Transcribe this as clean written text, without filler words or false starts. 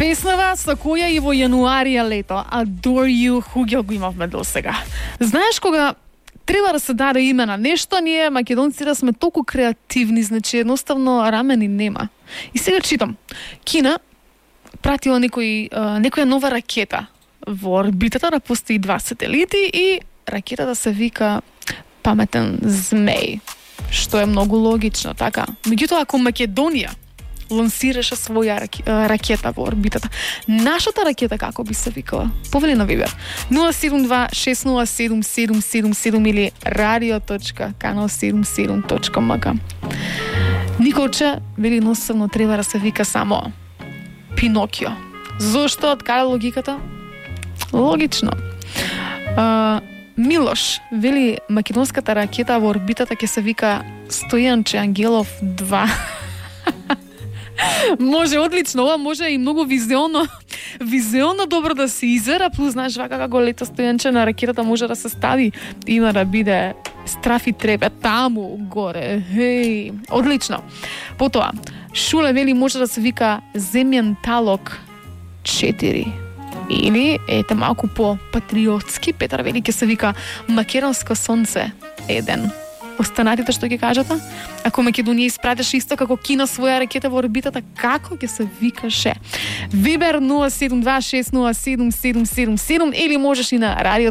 Песнава со која и во јануарија лето Adore You хуѓа го имавме до сега. Знаеш кога треба да се даде име на нешто, ние македонците сме толку креативни, значи едноставно рамени нема. И сега читам. Кина пратила некоја нова ракета во орбитата, да постои 2 сателити и ракетата се вика Паметен змеј, што е многу логично, така. Меѓутоа, ако Македонија лансираше своја ракета во орбитата, нашата ракета како би се викала? Повели на Вибер 072-607-777 или radio.kanal77.mk. Николче вели едноставно треба да се вика само Пинокио. Зошто? Од каде логиката? Логично. Милош вели македонската ракета во орбитата ќе се вика Стојанче Ангелов 2. Може, одлично, ова може и многу визионно добро да се извера, плюс знаеш вака како лета Стојанче на ракетата може да се стави, има да биде страф и трепе таму горе. Хеј, одлично. Потоа, Шуле вели може да се вика Земјен талок 4. Или, ете малку по-патриотски, Петар вели ќе се вика Македонско сонце 1. Останатите што ќе кажете? Ако Македонија испратеше исто како Кина своја ракета во орбитата, како ќе се викаше? Вибер 072 607 777 или можеш и на радиото